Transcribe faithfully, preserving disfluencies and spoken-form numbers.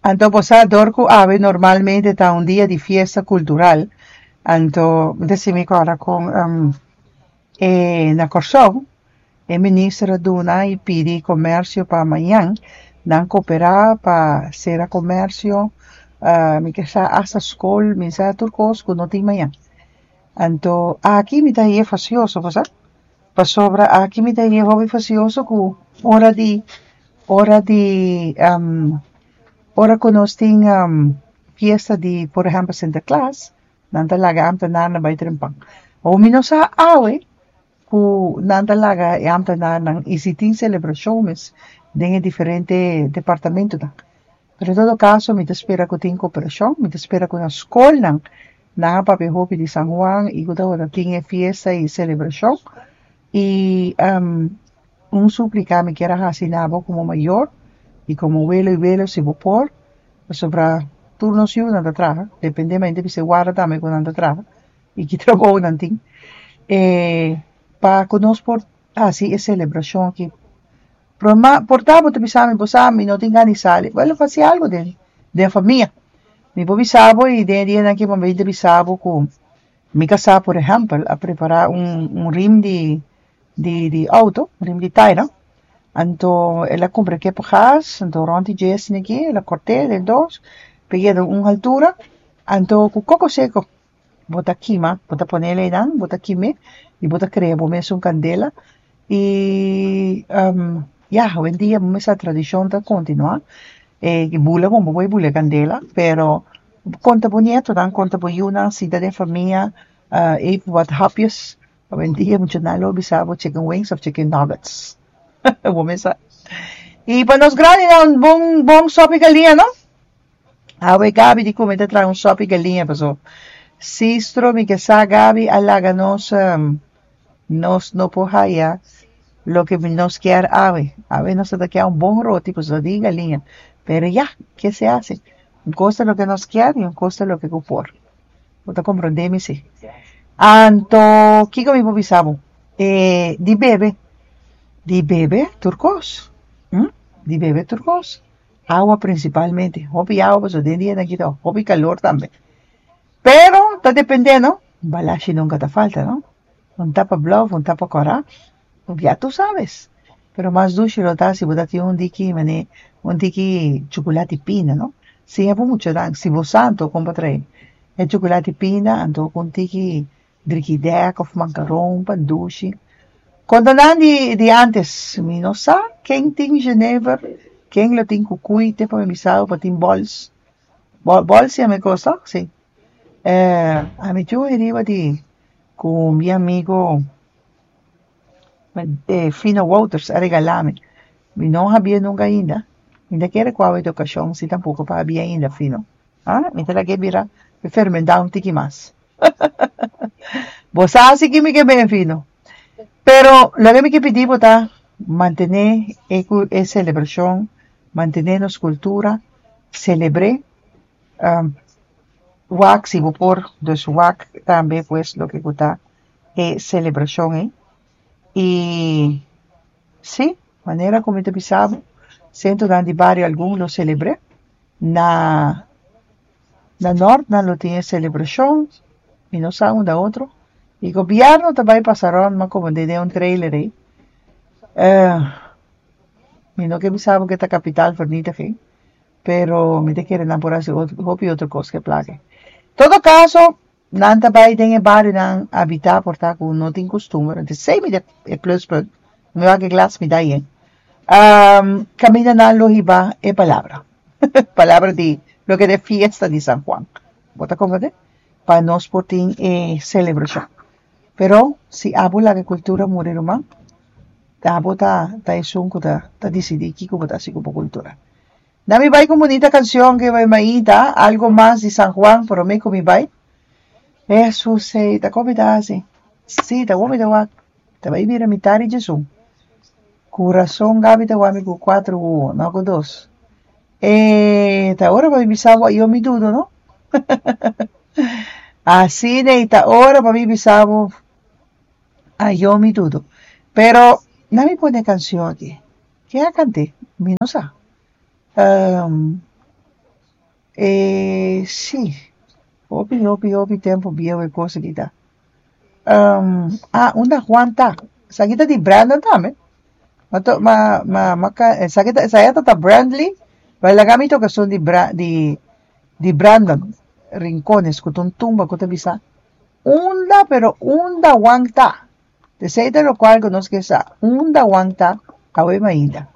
Anto bo sa dor ku awe normalmente ta un dia di fiesta kultural, anto mi ta sinti mi kòrda kon e na Kòrsou e minister a duna i pidi komersio pa mañan nan koperá pa sera komersio, mi ke sa asta skol, mi sa tur kos ku no tin mañan. Anto aki mi ta hañ'é fasioso, bo sa, pasobra aki mi ta hañ'é hopi fasioso ku ora di ora di ora ku nos tin fiesta di por ehèmpel Sinterklaas, nan ta laga e ámtenarnan bai trempan. Awor mi no sa awe ku nan ta laga e ámtenarnan i si tin selebrashon mes den e diferente departamentonan. Pero en todo kaso mi ta spera ku tin koperashon, mi ta spera ku na skolnan nan a papia hopi di San Juan i ku tabata tin e fiesta i selebrashon i un súplika mi kier a hasi na bo komo mayor i komo welo i welo si bo por, pasobra tur nos yunan ta traha, depende mi ta bisa e warda tambe ku nan ta traha i ki trabou nan tin, pa ku nos por hasi e selebrashon aki. Por ta bo ta bisa mi, bo sa mi no tin gana di sali, wèl hasi algu den den famia. Mi por bisa bo i den e dianan aki mi ta bisa bo ku mi kasá por ehèmpel a prepará un un rim di di di outo, rim di taira, anto el a kumpra kepa gas, anto rònt di dje esaki el a kòrt'é den dos pa e yega un altura, anto ku koko seko bo ta kima, bo ta pone einan, bo ta kim'é i bo ta krea bo mes un kandela i ya, awendia bo mester tradishon ta kontinuá, e bula bon bo por bula e kandela, pero konta bo nietonan, konta bo yunan sinta den famia even wat hapjes, awendia muchanan lo bisa bo chicken wings òf chicken nuggets, bo mes sa. I pa nos grandinan bon bon sòpi galiña no, awe Gaby di ku mi ta traha un sòpi galiña pasobra sistro mi ke sa Gaby a laga nos nos no por haya loke nos kier awe, awe nos ta kier un bon roti pasobra di galiña, pero ya, ke se hasi, un kos ta loke nos kier i un kos ta loke ku por, bo ta komprondé mi si. Anto kiko mi por bisa bo? E di bebe, di bebe tur kos, di bebe tur kos, awa prinsipalmente, hopi awa pasobra den dianan aki ta hopi kalor tambe, pero ta dependé no, balashi nunka ta falta no, un tapa blou òf un tapa kòrá, ya tu sabes, pero mas dushi lo ta si bo ta tin un diki manera un diki chukulati pina no, siña bo muchanan, si bo sa anto kon pa trae e chukulati pina anto ku un tiki drikidèk òf mankaron pa dushi. Konta nan di di ántes, mi no sa ken tin jenever, ken lo tin kukuy te pa mi bisa bo pa tin bòls, bòls yama e kos tòg? Si, ami tin riba di ku mi amigo Fino Wouters a regalá mi, mi no habia nunka ainda, mi ta kere ku awe ta okashon si tampoko pa habia ainda Fino, ah mi ta laga e bira fermentá un tiki mas bo sa si ke mi ke ben Fino, pero loke mi ke pidi bo ta mantené e e selebrashon, mantené nos kultura, selebr'é, wak si bo por, dus wak tambe pues loke ku ta e selebrashon ei i si, manera ku mi ta bisa bo sentronan di bario algun lo selebr'é, na na nort nan lo tin e selebrashon, mi no sa unda otro, i gobièrnu ta bai pasa rònt mas komo den un trailer ei, mi no ke bisa bo ke ta kapital vernietiging, pero mi ta kere nan por hasi hopi otro kos ku e plaka ei. Todo kaso nan ta bai den e barionan habitá por ta ku no tin kustumber, esei mi ta e pluspunt, mi wak e glas mi da yen, kaminda nan lo hiba e palabra, palabra di loke ta e fiesta di San Juan, bo ta komprendé? Pa nos por tin e selebrashon, pero si abo laga e kultura muri ruman, abo ta ta esun ku ta ta disidí kiko bo ta hasi ku bo kultura. Nan mi bai ku un bunita kanshon ke bai mainta, algo mas di San Juan promé ku mi bai. Hesus ei, ta kon mi ta hasi? Si, ta bon mi ta wak, ta bai bira mitar di djesun. Ku rason Gaby ta wak mi ku kuater wowo, no ku dos. E ta ora pa mi bisa bo ayo mi dudo no. Asina ei ta ora pa mi bisa bo ayo mi dudo. Pero nan mi pone e kanshon aki. Ken a kant'é? Mi no sa. E sí, hopi, hopi, hopi tempu bieu e kos aki ta. Um, ah, unda Juan ta? Esaki ta di Brandon tambe. Ma to, ma, ma, ma, esaki ta, esaki ta Brandley, pero laga mi toka esun di Bra, di, di Brandon Rincones, ku ta un tumba ku ta bisa unda, pero unda Juan ta? Esei ta lokual ku nos ke sa. Unda Juan ta awe mainta?